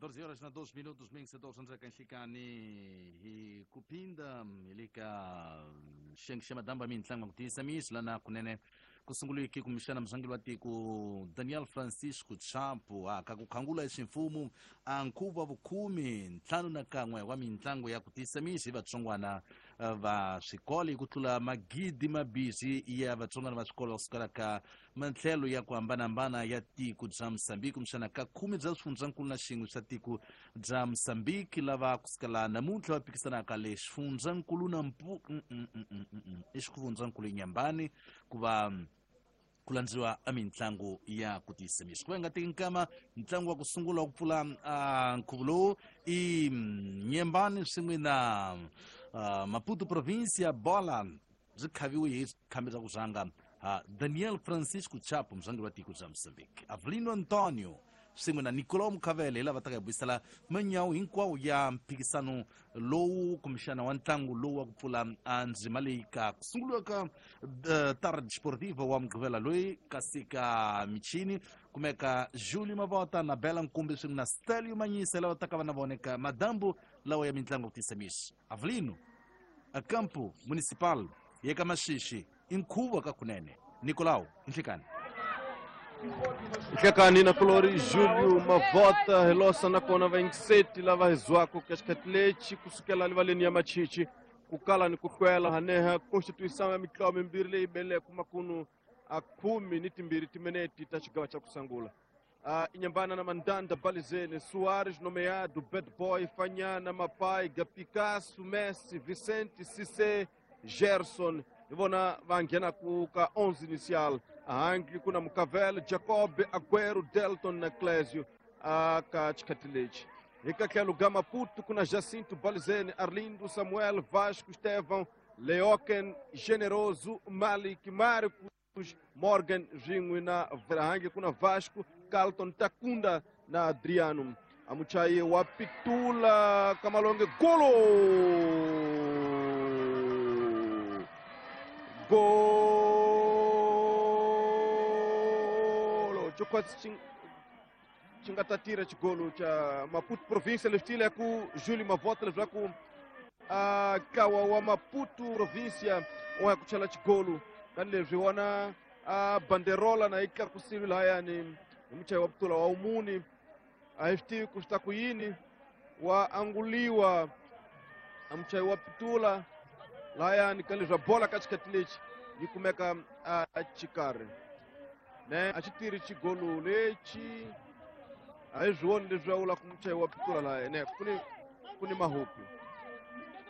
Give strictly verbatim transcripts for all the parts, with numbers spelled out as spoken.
catorze horas na dois minutos, mingse doze kanhlikani hi ku phinda hi le ka xiyenge xa madamba mintlangu ku tiyisa misi lana kunene ku sunguliki kumbexana murhangeri wa tiko Daniel Francisco Chapo a ka ku khangula ximfumo a nkhuvo wa vukhume ntlhanu na kan'we wa mintlangu ya ku tiyisa misi hi vatsongwana va swikolo hi ku tlula magidi mabisi ya vatsongwana va swikolo va sukela ka matlhelo ya ku hambanahambana ya tiko bya Mozambique kumbexana ka khume bya swifundzankulu na xin'we swa tiko bya Mozambique lava kusukela namuntlha va phikisanaka le xifundzankulu na mpu i xifundzankulu Inhambane ku va ku landziwa a mitlangu ya ku tiyisa misi ku va nga teki nkama ntlangu wa ku sungula wa ku pfula nkhuvo lowu i Inhambane swin'we na Maputo province ya bola byi khaviwe hi khambi bya ku rhanga Daniel Francisco Chapo murhangeri wa tiko bya Mozambique Avelino Antonio swin'we na Nicolau Mukhavele hi lava taka hi buyisela manyawu hinkwawo ya mphikisano lowu kumbexana wa ntlangu lowu wa ku pfula ndzima leyi ka ku sunguliwa ka Tarde Desportiva wa Mugqivela loyi kasi ka michini kumeka Julio Mavota na Bela Nkumbi swin'we na Stelio Manyisa lava taka va na vona eka madambu lawa ya mitlangu ku tisa misi Avelino a campo municipal ya ka Maxixi i nkhuvo ka kunene Nicolau nhlikani Nhlekani na kulori Julio Mavota hilosa nakona vaingiseti lava hizwako ka xikhathi lexi kusukela livaleni ya Machichi ku kala ni ku hlwela haneha constituição ya mitlawa mimbirhi leyi beleke makunu a khume ni timbirhi timinete ta xigava xa ku sungula. Uh, Inhambane na Mandanda, Balizene, Soares, nomeado, Bad Boy, Fanyana, Mapaiga, Picasso, Messi, Vicente, Cissé, Gerson. Hi vona va nghenaku ka onze inicial. Ahangli kuna Mukavel, Jacob, Aguero, Delton na Clésio uh, ka xikhathi lexi. Hi ka tlhelo ga Maputo kuna Jacinto, Balizene, Arlindo, Samuel, Vasco, Estevão, Leoken, Generoso, Malik, Marcos, Morgan, swin'we na Ahangi kuna Vasco, Carlton, Takunda na Adriano. Amuchai wa Pitula Kamalonge, golo! Golo! Chokwatsi chingatatira chigolo cha Maputo província lestile ku Júlio Mavota levla ku uh, kawa wa Maputo província wa kuchala chigolo kan leswi wona a banderola na ika kusilu lahayani muchai wa Pitula wa umuni a F T kusta kuyini wa anguliwa amuchai wa Pitula lahayani kan leswi bola katikati lexi yi kumeka a chikari ne a xitiri xigolo lexi a hi swi leswi a vula ku muchai wa Pitula lahaya ne kuni kuni mahupi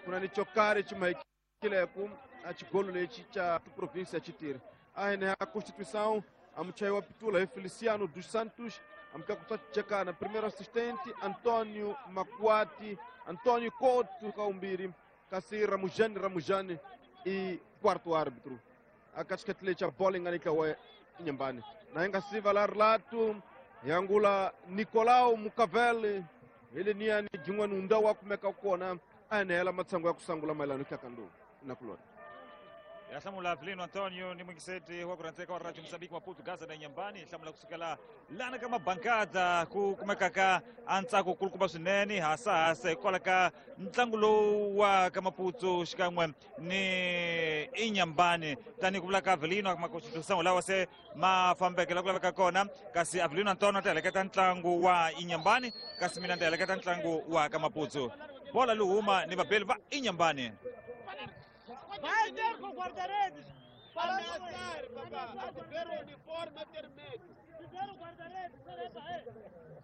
kuna ni chokari chimahikileko a xigolo lexi cha província xitiri a hene a Constituição a muchai wa Pitula hi Feliciano dos Santos amkakuchekana primeiro assistente Antônio Macuati, Antônio Couto Kaumbiri, kasi Ramujani Ramujani e quarto árbitro. A cascatelecha a bola enganika wa Inhambane. Na inga siva la relato yangula Nicolau Mukavele ele niani jingwa nunda wa kumeka kona anela matsango ya kusangula mailano kyakandu na kulona. Ya hlamula Avelino Antonio ni mwingiseti wa kuranteka wa Radio Mozambique Maputo Gaza na Inhambane hlamula kusukela lana kama bankada ku kumeka ka antsako kulukumba swinene hasa hasa hikwalaho ka ntlangu lowu wa ka Maputo xikan'we ni Inhambane tanihi ku vula ka Avelino makonstitution lawa se ma fambeke la ku laveka kona kasi Avelino Antonio ta heleketa ntlangu wa Inhambane kasi mina ni ta heleketa ntlangu wa ka Maputo bola luhuma ni vabeli va Inhambane. Vai ter com o guarda-redes! Para ameaçar, papá! A ver o uniforme vermelho! Se ver o guarda-redes,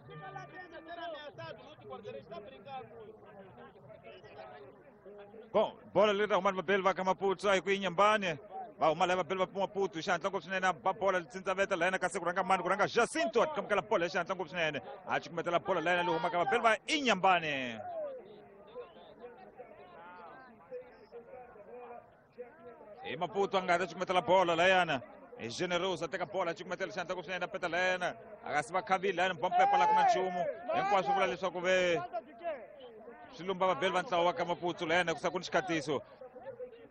fica lá dentro, ser ameaçado, não te guarda-redes, está brincando muito. Bom, bola leta humana vabeli va ka Maputo a hi ku Inhambane va huma lava vabeli va Maputo hi xihatla ngopfu swinene ba bola litsintsa la yena kasi ku rhanga mani ku rhanga Jacinto a tikamukela bola hi xihatla ngopfu swinene a cukumetela bola la yena leyi humaka vabeli va Inhambane. Hi Maputo a nga ta cukumetela bola layana hi Generoso a teka bola a cukumetela xihatla ngopfu swinene a peta layena a kasi va khavile layana bompepa la ku na nchumu hinkwaswo vula leswaku ve swi lumba vabeli va ntlawa wa ka Maputo layana ku sa ku ni xikhatiso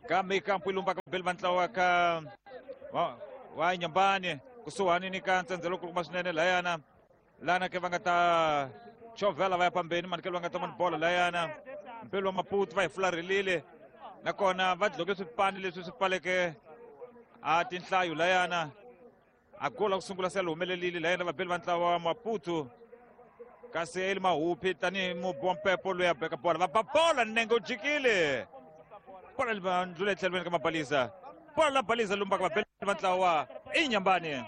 kambe kampu yi lumbaka vabeli va ntlawa wa ka wa Inhambane kusuhani ni ka ntsendzelo kulukumba swinene layana Lana ke va nga ta chovhela va ya pambeni manikelo va nga ta mani bolo layana mpelo wa Maputo va hi fularhelile nakona va dloke swipani leswi swi pfaleke a tinhlayo layana a gola ku sungula se li humelelile layana vabeli va ntlawa wa Maputo kasi eli Mahupi tanihi mubi wa mpepo loyi a beka bola va ba bola nenge u jikile bola li va ndlula etlhelweni ka Mabalisa bola la Balisa lumbaka vabeli va ntlawa wa Inhambane.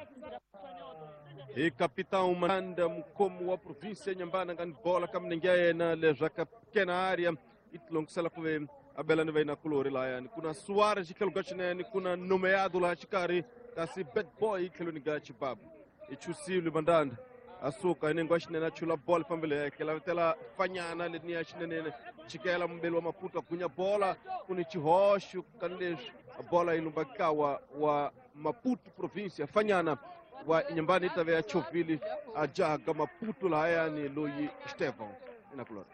Hi capitão Manda mukhomi wa província ya Inhambane a nga ni bola ka milenge ya yena leswaku a kena area i tilongisela ku ve a bela ni vayinakulori layani ku na Suarez tlhelo ka xinene ku na Nomeado laha xikarhi kasi Bad Boy tlhelweni ka Chibabu i chusile Mandanda a suka hi nenge wa xinene a chula bola fambile yeke lavetela fanyana leniya xinenene chikela mubeli wa Maputo a gunya bola ku ni xihoxo ka leswi bola yi lumba kawa wa Maputo província fanyana wa Inhambane yi ta ve ya chovhile a jaha ka Maputo lahayani loyi Stefan inakulora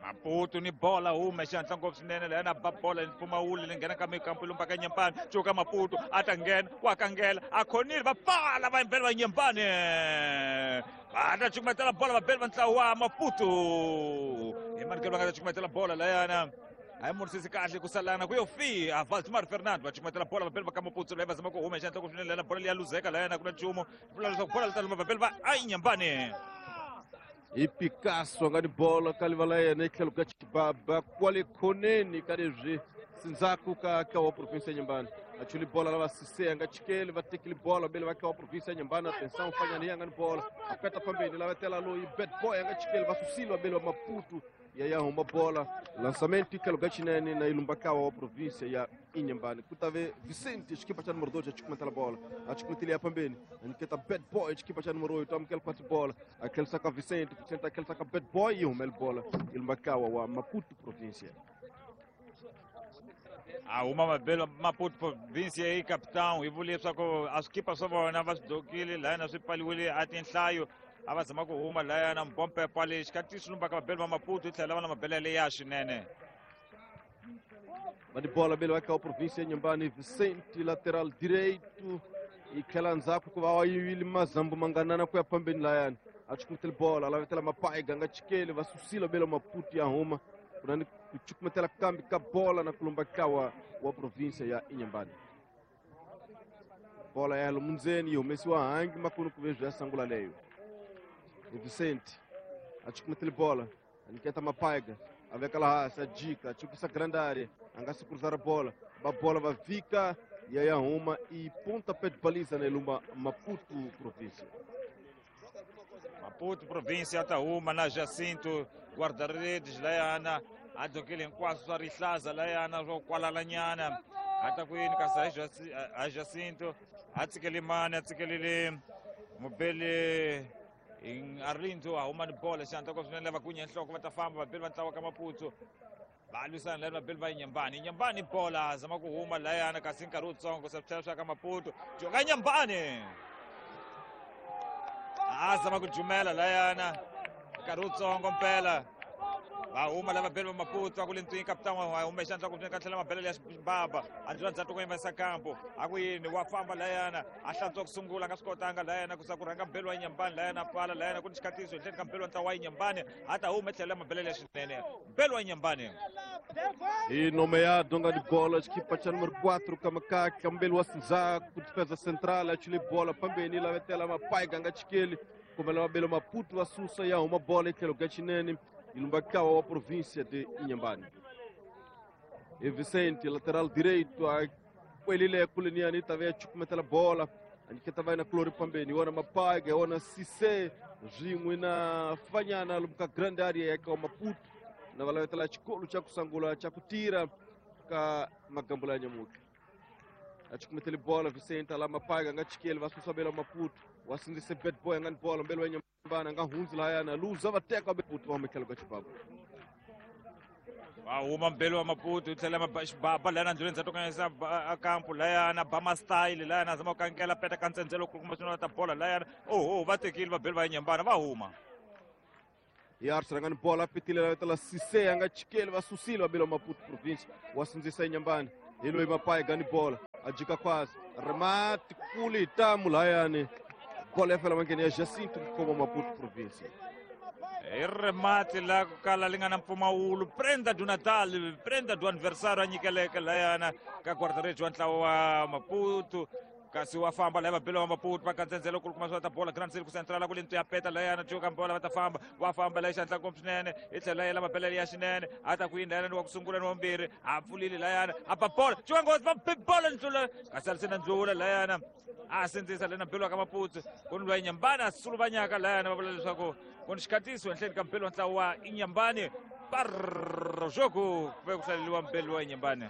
Maputo ni bola hume xihatla ngopfu swinene layana ba bola ni mpfumawulo leyi nghena ka mikampu lumba ka Inhambane cuka Maputo a ta nghena wa kangela a khonile va pfala va yimbela va Inhambane va ta cukumetela bola vabeli va ntlawa wa Maputo hi manikelo va nga ta cukumetela bola layana a yi murisisi kahle ku salana ku yo fika Valdemar Fernando va cukumetela bola vabeli va ka Maputo leyi va zama ku huma xihatla ngopfu swinene layana bola leyi ya luzeka layana ku na nchumu vula leswaku bola li ta lumba vabeli va a Inhambane. Hi Picasso a nga ni bola ka liva la yena etlhelo ka Chibaba kwale khoneni ka leswi sindzhaku ka ka wa província ya Inhambane a chuli bola lava Cissé a nga chikeli va tekile bola bele va ka wa província ya Inhambane atenção fanyana a nga ni bola a peta pambeni lavetela loyi Bad Boy a nga chikeli va susile va bele va Maputo ya ya huma bola lançamento tlhelo ka xinene na ilumba kawa wa província ya Inhambane ku ta ve Vicente xikipa xa número dois a cukumetela bola a cukumetele ya pambeni a nyiketa Bad Boy xikipa xa número oito amukela kwati bola a tlhelisa ka Vicente Vicente a tlhelisa ka Bad Boy yi humele bola ilumba kawa wa Maputo província. A huma mabelo Maputo província hi capitão hi vule leswaku a swikipa swa vona va swi dokile layana swi pfaliwile a tinhlayo a va zama ku huma layana mbompepa lexi ka ti swi lumbaka vabeli va Maputo yi tlhela va na mabele leya swinene. Va ni bola bele va ka wa província ya Inhambane Vicente lateral direito yi tlhela ndzhaku ku va wa yivile mazambu manganana ku ya phambeni layani a cukumetele bola lavetela Mapaiga nga chikeli va susile bele Maputo ya huma ku na ni ku cukumetela kambi ka bola na ku lumba kawa wa província ya Inhambane bola ya lomundzeni yi humesiwa hangi makunu ku ve bya sangula leyo. Vicente a cukumetele bola a nyiketa Mapaiga a veka laha hansi a jika a chukisa grande área a nga si cruzar bola va bola va vika ya ya huma i pontapé de baliza na ilumba Maputo província. Maputo província ta huma na Jacinto guarda-redes layana a dokile hinkwaswo swa rihlaza layana swo kwalalanyana a ta ku yini kasi a Jacinto a tsikele mani a tsikelele mubeli Arlindo a huma ni bola xihatla ngopfu swinene lava gunya nhloko va ta famba vabeli va ntlawa ka Maputo va lwisana lani vabeli va Inhambane Inhambane bola zama ku huma layana kasi nkarhi wutsongo se swi tlhela swi ya ka Maputo joka Inhambane a zama ku jumela layana nkarhi wutsongo mpela va huma lava vabeli va Maputo a ku le ntwini capitão wa huma xandla ku ka tlhela mabele ya Xibaba a ndlula ndzhaku ku yimisa kampo a ku yini wa famba layana a hlantswa ku sungula a nga swi kotanga layana ku sa ku rhanga mbeli wa Inhambane layana pfala layana ku ni xikhatiso etlhelo ka mbeli wa ntlawa wa Inhambane a ta huma tlhela mabele ya xinene mbeli wa Inhambane. Hi nomeado nga ni bola xikipa xa número quatro ka Makaka mbeli wa Sinzaku defesa central a chule bola pambeni lavetela Mapaiga nga chikeli kumbe lava bele Maputo va susa ya huma bola etlhelo ka xinene ilumba kawa wa província de Inhambane. E Vicente lateral direito a kwelile kuleniani ta ve cukumetela bola a nyiketa va na kulori pambeni wona Mapaiga wona Cissé swin'we na fanyana lomu ka grande area ya ka Maputo na va lavetela xikolo xa ku sungula xa ku tira ka magambula ya nyamutlha a cukumetele bola Vicente la Mapaiga nga chikeli va susa bela Maputo wa sindzise Bad Boy nga ni bola mbeli wa Inhambane nga hundzi lahayana luza va teka Maputo va humekela ka Chibabu va huma mbeli wa Maputo yi tlhela Xibaba layana ndluleni ndzhaku ka yisa kampo layana bama style layana zama ku kankela peta ka ntsendzelo ku kuma swin'wana ta bola layana oho va tekile vabeli va Inhambane va huma. Yards rangani bola pitile lavetela Cissé a nga chikeli va susile va bela Maputo província wa sindzisa Inhambane hi loyi Mapaiga ni bola a jika khwasi remate kule hi tamu lahayani Bola ya fela mangeni ya Jacinto kuma Maputo província. I remate la ku kala li nga na mpfumawulo prenda do Natal, prenda do aniversário a nyikeleke layana ka guarda-redes wa ntlawa wa Maputo. Kasi wa famba laya vabelo wa Maputo va kantsendzelo ku kuma swa ta bola Grand Circle Central ku le ya peta layana cuka bola va ta famba wa famba laya xandla ngopfu swinene i tlhela yela mabelele ya xinene a ta ku yini layana wa ku sungula ni wa vumbirhi a pfulile layana a ba bola cuka nghozi va be bola ndlula kasi a ri sina ndlula layana a sindzisa lena mbelo ka Maputo ku ni lwa Inyambani a suluvanyaka layana va vula leswaku ku ni xikhatiso henhleni ka mbelo wa ntlawa wa Inyambani parro jogo ku ve ku hlaleliwa mbelo wa Inyambani.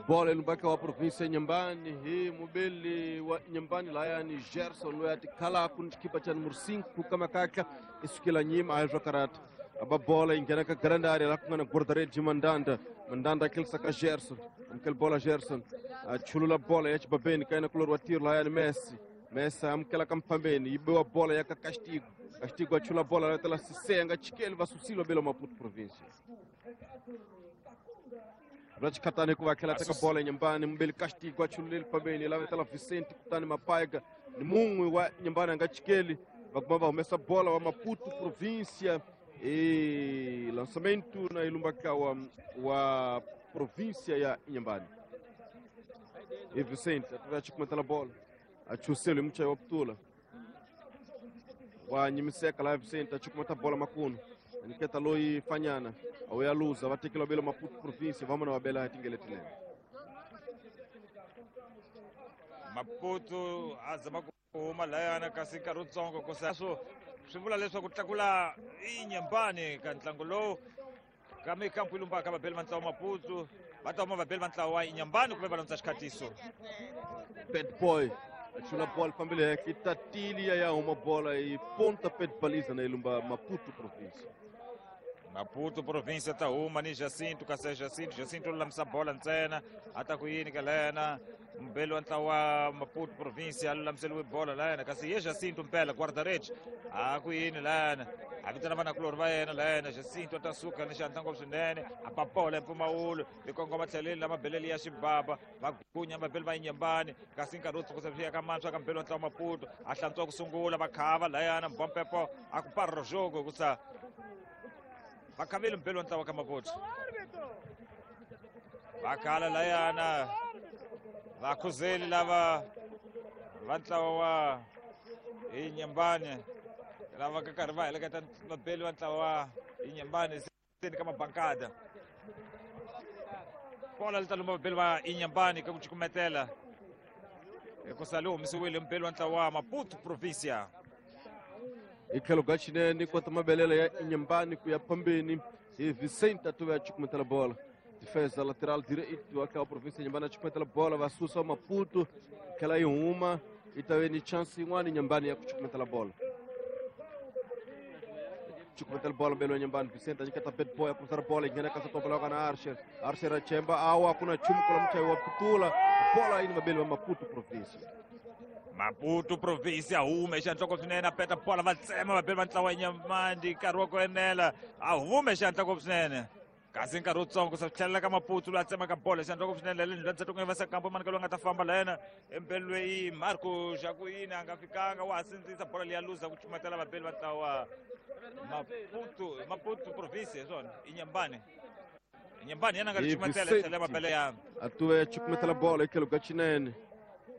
Bola ilumbaka wa província Inhambane hi mubeli wa Inhambane layani Gerson loyi a tikhalaka ni xikipa xa numero cinco kamakaka i sukela nyima a yi karata aba bola yi nghena ka grande área la ku nga na guarda-redes Mandanda. Mandanda a kelisa ka Gerson amukela bola Gerson a chulula bola ya xibabeni ka yena kulori wa tiro layani Messi. Messi amukela ka mfambeni yi biwa bola ya ka Castigo. Castigo a chula bola la tela Cissé nga chikeli va susile belo Maputo província. Rachikatani ku va tlhela teka bola Inhambane mubeli Castigo a chululeli pambeni lava tela Vicente kutani Mapaiga ni mun'we wa Inhambane a nga chikeli va kuma va humesa bola wa Maputo província e lançamento na ilumbaka wa, wa província ya Inhambane. E Vicente a chikumetela bola a chuselo muchayi wa putula wa nyimiseka la Vicente a chikumeta bola makunu niketa loyi fanyana awu ya luza va tekela belo Maputo província vamana va bela tingeletile. Maputo a zama ku huma layana kasi nkarhi wutsongo ku swo swi vula leswaku tlakula Inhambane ka ntlangu lowu ka mikampu yi lumbaka vabeli va ntlawa Maputo va ta huma vabeli va ntlawa wa Inhambane kumbe va landza xikhatiso. Bad boy a chula bola fambile heke tatili ya ya huma bola yi ponta pé de baliza na ilumba Maputo província. Maputo província ta huma ni Jacinto kasi Jacinto Jacinto lulamisa bola ntsena a ta ku yini ka layana mbelo wa ntlawa wa Maputo província a lulamiseliwe bola layana kasi ye Jacinto mpela guarda-redes a ku yini layana a vitana vanakulori va yena layana Jacinto a ta suka ni xandla ngopfu swinene a ba bola mpfumawulo yi kongoma tlheleni la mabelele ya xibaba va gunya mabeli va Inhambane kasi nkarhi wo tsukusa swi ya ka mantshwa ka mbelo wa ntlawa Maputo a hlantswa ku sungula va khava layana mbompepo a ku parro jogo kusa va khavile mbelo wa ntlawa ka Maputo va khala layana vakhuzeli lava va ntlawa wa Inhambane lava ka karhi va heleketa vabeli va ntlawa wa Inhambane seni ka mabankada bola li ta lumba vabeli va Inhambane ka ku cukumetela hikusa li humesiwile mbeli wa ntlawa wa Maputo província. Hi tlhelo ka xinene kota mabelele ya Inhambane ku ya phambeni hi Vicente a tuve a cukumetela bola. Defesa lateral direito wa província Inhambane a cukumetela bola va susa Maputo tlhela yi huma yi ta ve ni chance yin'wana Inhambane ya ku cukumetela bola. Cukumetela bola mbelo wa Inhambane Vicente a nyiketa bad boy a cruzar bola yi nghena ka satopa ka na Archer. Archer a chemba awa ku na nchumu kula muchayi wa putula bola yi ni vabeli va Maputo província. Maputo província hume xandla swinene a peta bola va tsema vabeli va ntlawa Inhambane nkarhi wa ku enela a hume xandla swinene kasi nkarhi wutsongo sa tlhelela ka Maputo loyi a tsemaka bola xandla swinene le ndlwani ku nga va kampo mani ka loyi a nga ta famba la yena empelweni Marco Jacuini a nga fikanga wa ha sindzisa bola leyi ya luza ku cumatela vabeli va ntlawa Maputo Maputo província swona Inhambane Inhambane yena nga ri cumatela tlhela mabele ya a tuve cukumetela bola hi tlhelo ka xinene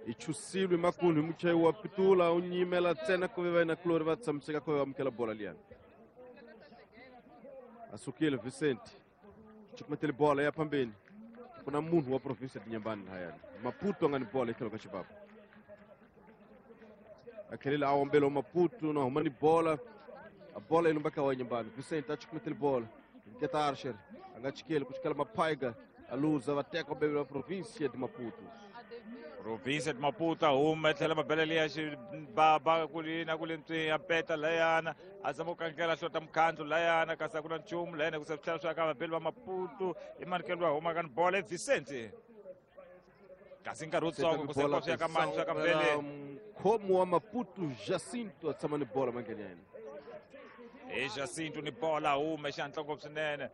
i chusilwe makunhu hi muchayi wa pitula u nyimela ntsena ku ve va yena kulori va tshamiseka ku ve va amukela bola liyani. A sukile Vicente cukumetele bola ya phambeni ku na munhu wa província Inhambane lahayani Maputo a nga ni bola hi tlhelo ka xibaba a tlhelile a ombela wa Maputo na huma ni bola a bola yi lumbaka wa Inhambane Vicente a cukumetele bola nketa Archer a nga chikeli ku chikela Mapaiga a luza va teka bebe va província de Maputo. Província de Maputo a huma tlhela mabelele ya xibaba ku li na ku le ntswi ya peta layana a zama ku kankela hlota mukhandlu layana kasi a ku na nchumu layana ku se tlhela swi ya ka vabeli va Maputo i manikelo wa huma ka ni bola Vicente kasi nkarhi wutsongo ku se swi ya ka mani swa ka mbele mkhomo wa Maputo Jacinto a tshama ni bola mangeni ya yena hi Jacinto ni bola hume xandla ngopfu swinene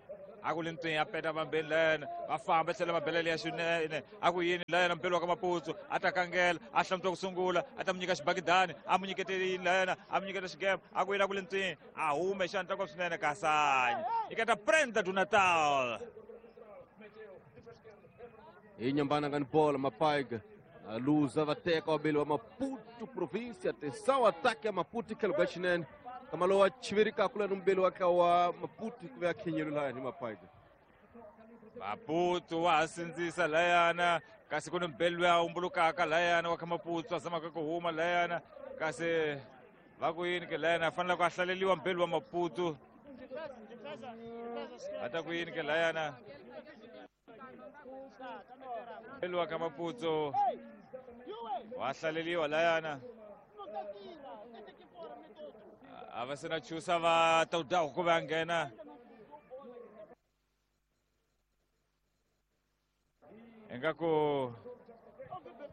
A ku ri ntwini a peta vambeni layana va famba tlhela va belela ya xinene a ku yini layana mpelo wa ka Maputsu a ta kangela a hlamutiwa ku sungula a ta mu nyika xibakidani a mu nyikete yini layana a mu nyiketa xigema a ku yini a ku ri ntwini a hume xandla kwa swinene kasanyi ikata prenda do Natal hi nyambana nga ni bola Mapaiga a luza va teka wabeli wa Maputo província. Atenção, ataque ya Maputo tlhelo ka xinene kama lowa chiverikaka lani mubeli wa ka wa Maputo ku ve a khenyelo lani Mapaiga. Maputo wa ha sindzisa layana kasi ku ni mbeli loyi a humbulukaka layana wa ka Maputo a zamaka ku huma layana kasi va ku yini ke layana a fanele ku a hlaleliwa mbeli wa Maputo a ta ku yini ke layana mbeli wa ka Maputo wa hlaleliwa layana a va se na chusa va tawudaku ku va nghena ingaku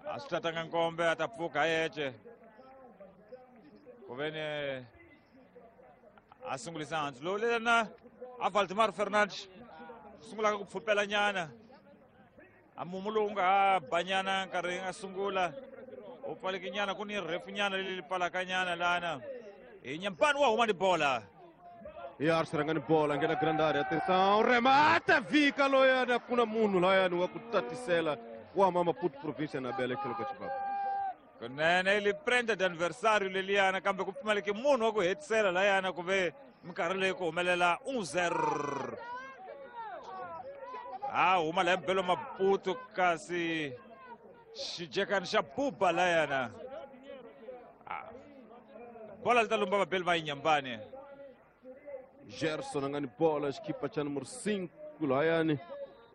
a swi tatanga nkombe a ta pfuka yece ku ve ni a sungulisa hansi lowu lena a Valdemar Fernandes sungulaka ku pfupela nyana a mumu lowu nga ha ba nyana nkarhi nga sungula u pfaleke nyana ku ni rhefu nyana leyi pfalaka nyana lana hi Nyambani wa huma ni bola. E Arce ranga ni bola nghena grande área. Atenção, remata vika loyana kuna munhu layani wa ku tatisela wa huma Maputo província na bela tlhelo ka xibaba. Kunene li prenda de aniversário leliyana kambe ku pfumaleke munhu wa ku hetisela layana ku ve minkarhi leyi ku humelela un zero. A huma laya mbelo Maputo kasi xijekani xa buba layana. Bola li ta lumba vabeli va Inyambani. Gerson a nga ni bola xikipa xa número cinco layani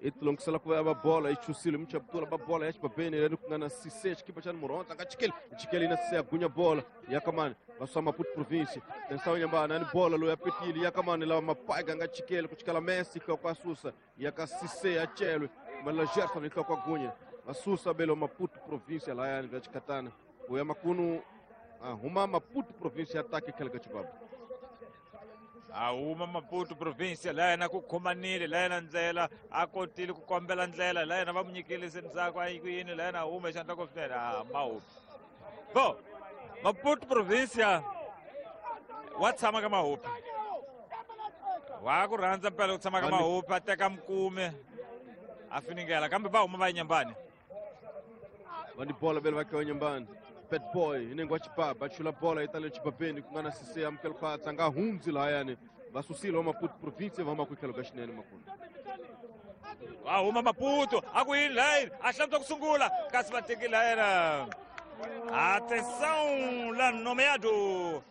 i tilongisela ku va bola yi chusile muchaptula ba bola ya xibabeni leri ku nga na Cissé xikipa xa número onze a nga chikeli chikeli na Cissé a gunya bola ya kamani va swa Maputo província. Atenção Nyambani a ni bola loyi a petile ya kamani lava Mapaiga a nga chikeli ku chikela Messi hloko a susa ya ka Cissé a celwe mala Gerson hi hloko a gunya va susa belo Maputo província layani bya xikatana ku ya makunu a huma Maputo província ataque tlhelo ka xibaba. A huma Maputo província layana ku khomanile layana ndlela a kotile ku kombela ndlela layana va mu nyikile se ndzhaku a yi ku yini layana a huma xandla ko swinene a Mahupi bo Maputo província wa tshama ka Mahupi wa ku rhandza mpela ku tshama ka Mahupi a teka mkume a finingela kambe va huma va Inyambani va ni bola vele va ka Inyambani. Bad boy inengo wa xibaba a chula bola yi tale xibabeni ku nga na Cissé amukela khwatsa nga hundzi lahayani va susile wa Maputo província va huma ku tlhelo ka xinene makulu. Va huma Maputo a ku yini layini a hlamutiwa ku sungula kasi va teki layena. Atenção la nomeado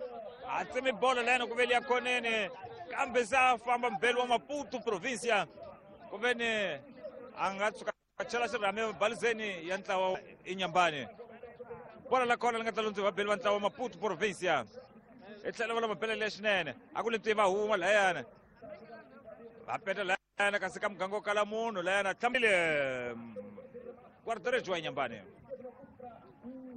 a tsemi bola layena ku ve liya khoneni kambe se a famba mbeli wa Maputo província ku ve ni a nga tshuka a chela xirhami balizeni ya ntlawa Inyambani. Bola la kona li nga ta lundziwa vabeli va ntlawa Maputo província i tlhela va lava belele xinene a ku ri va huma layana va peta layana kasi ka muganga wo kala munhu layana tlhambile guarda-redes wa Inyambani.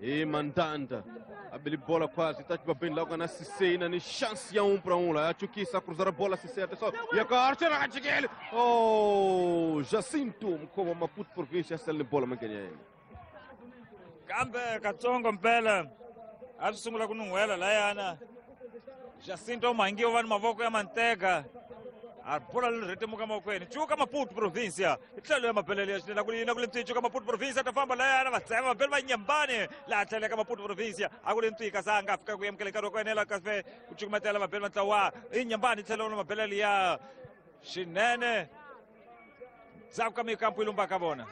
Hi Mandanda a beli bola quase tá xibabeni la ku nga na Cissé na ni chance ya um para um lá a chukisa a cruzar a bola Cissé atenção ya ka Archer a chikele oh Jacinto mkhoma Maputo província a sele ni bola mangenya yena kambe katsongo mpela a swi sungula ku nun'hwela layana Jacinto Mhangiwa va ni mavoko ya manteka a bola leri rhetemuka mavokweni cuka Maputo província hi tlhelo ya mabelele ya xinene ku yini ku ri ntwi cuka Maputo província ta famba layana va tsema vabeli va Inyambani laha tlheleka Maputo província a ku ri ntwi kasi a nga fika ku amukela nkarhi wa ku enela kasi ku cukumetela vabeli va ntlawa Inyambani tlhelo na mabelele ya xinene ndzhaku ka mikampu yi lumbaka vona.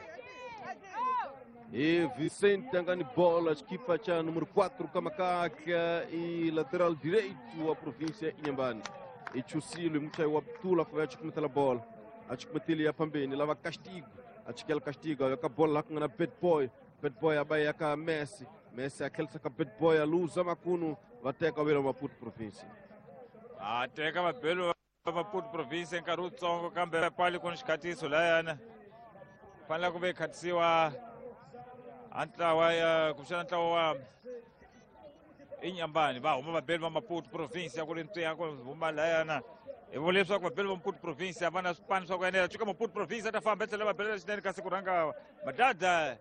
E Vicente a nga ni bola xikipa xa número quatro ka Makaka e lateral direito wa província Inyambani. I chusile muchayi wa Ptula ku va ya chukumetela bola a chukumetile ya phambeni lava Castigo a chikela Castigo a veka bola laha ku nga na Bad Boy. Bad Boy a ba ya ka Messi Messi a tlhelisa ka Bad Boy a luza makunu va teka vele Maputo província. A teka vabeli va Maputo província nkarhi wutsongo kambe pali ku ni xikhatiso layana fanele ku ve khatisiwa a ntlawa ya kumbexana ntlawa wa Inyambani va huma vabeli va Maputo província ku ri ntwiya ku huma layana Hi vula leswaku vabeli va Maputo province a va na swipano swa ku enela. Cuka Maputo province a ta famba etlhela va belela swinene, kasi ku rhanga Madada